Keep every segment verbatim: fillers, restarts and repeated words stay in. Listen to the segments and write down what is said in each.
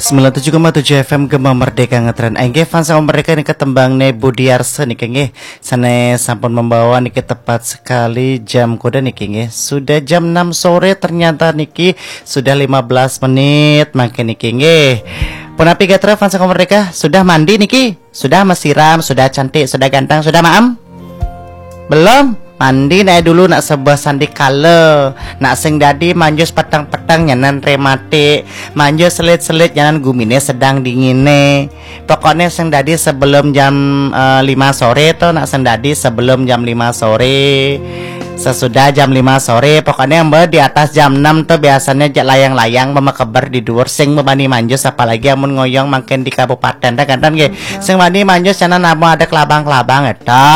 Sembilan tujuh koma tujuh F M Gema Merdeka ngetren. Inggih fans Gema Merdeka niki tembang ne Budi Arsa niki nggih. Sane sampun membawa niki tepat sekali jam kuda niki nggih. Sudah jam enam sore ternyata niki sudah lima belas menit makin niki nggih. Punapi gatra fans Gema Merdeka sudah mandi niki? Sudah mesiram, sudah cantik, sudah ganteng, sudah maem? Belum? Mandi nae dulu nak sebuah sandikala. Nak sing dadi manjus peteng-peteng nyanan rematik, manjus selit-selit nyanan gumine sedang dingine. Pokoknya sing dadi sebelum jam eh, lima sore to, nak sing dadi sebelum jam lima sore. Sesudah jam lima sore, pokoknya mbak di atas jam enam to biasanya jak layang-layang memekeber di duur sing bebani manjus, apalagi amun ngoyong makin di kabupaten dah kantan nggih. Sing bani manjus nyanan amun ada kelabang-kelabang eta.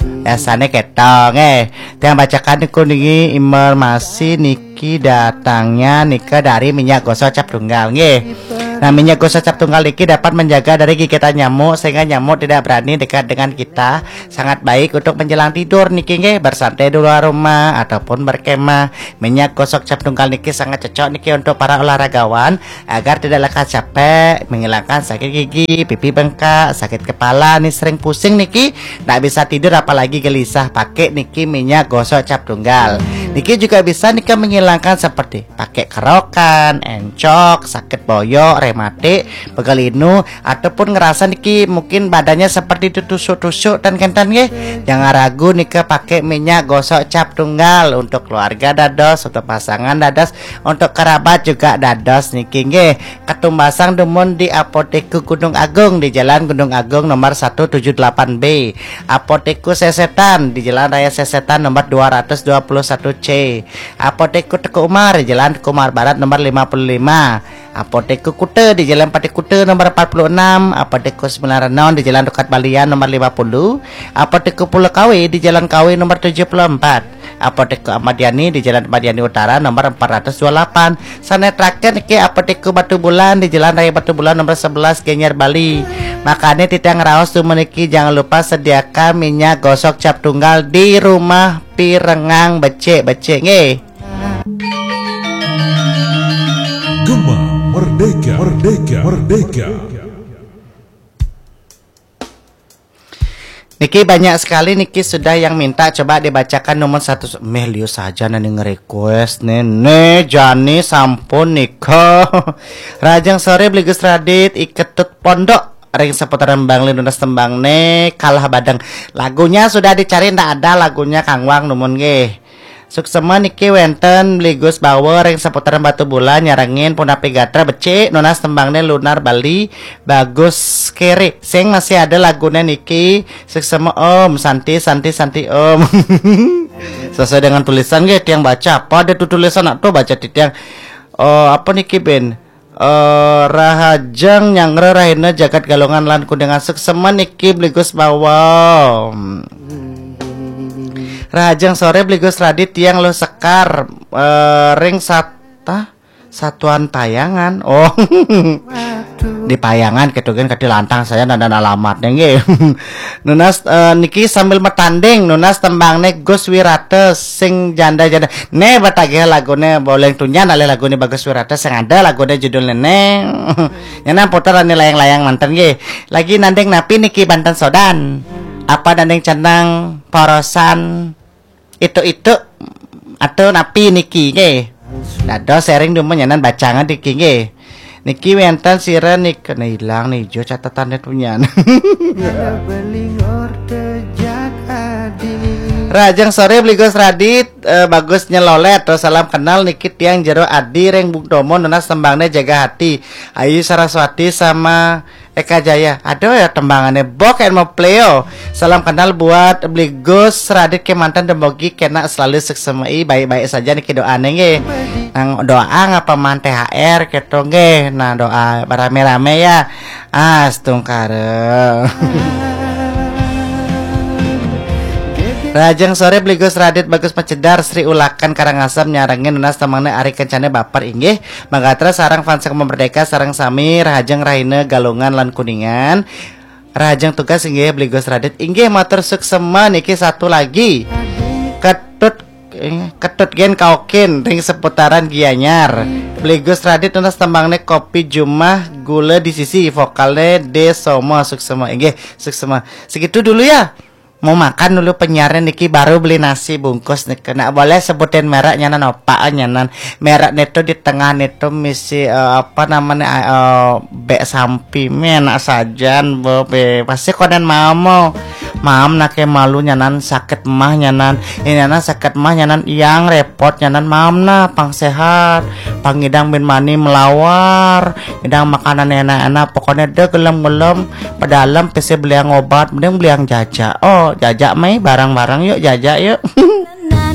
Biasanya ketong eh. Tiang bacakan niku niki informasi niki datangnya nika dari minyak gosok cap tunggal nggih. Nah, minyak gosok cap tunggal niki dapat menjaga dari gigitan nyamuk sehingga nyamuk tidak berani dekat dengan kita. Sangat baik untuk menjelang tidur niki nggih, bersantai di luar rumah ataupun berkemah. Minyak gosok cap tunggal niki sangat cocok niki untuk para olahragawan agar tidak lekas capek, menghilangkan sakit gigi, pipi bengkak, sakit kepala nih sering pusing niki, ndak bisa tidur apalagi gelisah, pakai niki minyak gosok cap tunggal. Niki juga bisa nika menghilangkan seperti pakai kerokan, encok, sakit boyok, rematik, pegal inu, ataupun ngerasa niki mungkin badannya seperti ditusuk-tusuk dan kentan nggih. Jangan ragu nika pakai minyak gosok cap tunggal untuk keluarga dados, untuk pasangan dados, untuk kerabat juga dados niki nggih. Ketumbasang dumun di Apotek Gunung Agung di Jalan Gunung Agung nomor satu tujuh delapan B. Apotek Sesetan di Jalan Raya Sesetan nomor dua ratus dua puluh satu C. Apotek Teuku Umar di Jalan Teuku Umar Barat nomor lima puluh lima. Apotek Kuta di Jalan Patih Kuta nomor empat puluh enam, Apotek Sembilan Renon di Jalan Dekat Balian nomor lima puluh, Apotek Pulau Kawe di Jalan Kawe nomor tujuh puluh empat, Apotek Ahmad Yani di Jalan Ahmad Yani Utara nomor empat ratus dua puluh delapan. Sane terakhir niki Apotek Batu Bulan di Jalan Raya Batu Bulan nomor sebelas Gianyar Bali. Makane titiang raos tu meniki jangan lupa sediakan minyak gosok cap tunggal di rumah pirengang becik-becik nggih. Gema Merdeka, Merdeka, Merdeka. Niki banyak sekali niki sudah yang minta coba dibacakan nomor satu. Meh liu saja nani nge-request nene jani sampun nika. Rahajeng sore Bli Gus Radit, Iketut Pondok ring seputaran Bangli nunas tembang ne Kalah Badeng. Lagunya sudah dicari ndak ada lagunya Kang Wang numun nggih. Suksema niki wenten Bli Gus Bawa ring seputaran Batu Bulan nyarengin punapi gatra becik nunas tembangne Lunar Bali bagus kere. Sing masih ada lagune niki suksema Om Santi Santi Santi Om. Sesuai dengan tulisan nggih tiang baca apa ada tu tulisan nak tu baca titiang. Oh, apa niki ben? Eh, Rahajeng Nyanggra Rahina Jagat Galungan lan Kuningan suksema niki Bli Gus Bawa. Rahajeng sore Bli Gus Radit tiang Luh Sekar eh, ring sata Satuan Payangan. Oh. Di Payangan ketugen kati lantang saya dan alamatnya nggih. Nunas eh, niki sambil metanding nunas tembangne Gus Wirata sing janda-janda. Ne batagih lagune boleh tunyan alih lagune Bagus Wirata sing ada lagune judulnya ne. Nyana putar ane layang-layang manten nggih. Lagi nanding napi niki banten sodan. Apa nanding cenang porosan itu-itu atau napi niki nggih. Dados sharing dumun nyanan bacangan niki nggih. Niki wenten sira nika nah, hilang nih jo catatannya tunyan. Rajang sore Bli Gus Radit eh, bagus nyelolet terus salam kenal niki tiang jero adi reng Bung Tomo nunas tembangne jaga hati Ayu Saraswati sama Eka Jaya. Aduh ya tembangannya bok and mau pleo. Salam kenal buat Bli Gus Radit ke mantan demogi kena selalu sukses baik-baik saja niki doa nggih. Nang doa ngapa man T H R keto nggih. Nah doa rame-rame ya. Astungkara. Rajang sore Bli Gus Radit Bagus Pacedar Sri Ulakan Karangasem nyarengin nunas temangnya Ari Kencane Baper inggih. Magatra sarang fans Gema Merdeka sarang sami Rahajeng Rahina Galungan lan Kuningan. Rahajeng tugas inggih Bli Gus Radit inggih matur suksema niki satu lagi. Ketut eh, Ketut gen kaokin ring seputaran Gianyar. Beli Gus Radit nunas tembangne Kopi Jumah, Gula di Sisi, vokalnya De Somo, suksema. Inggih, suksema. Segitu dulu ya. Mau makan dulu penyiarnya niki, baru beli nasi bungkus nih. Kena boleh sebutin merek nyanan apa nyanan. Merek neto di tengah neto misi, eh, apa namanya, eh, bek sampi, enak sajan, Bob. Pasti konen mau mau. Mam nake malu nyanan, sakit mah nyanan. Ini nyanan sakit mah nyanan, yang repot nyanan, mam nah pang sehat. Pangidang bin mani melawar. Idang makanan enak-enak, pokoknya deh gelem-gelem. Pedalem pese beliang obat, mending beliang jaja. Oh, jaja mai bareng-bareng yuk, jaja yuk.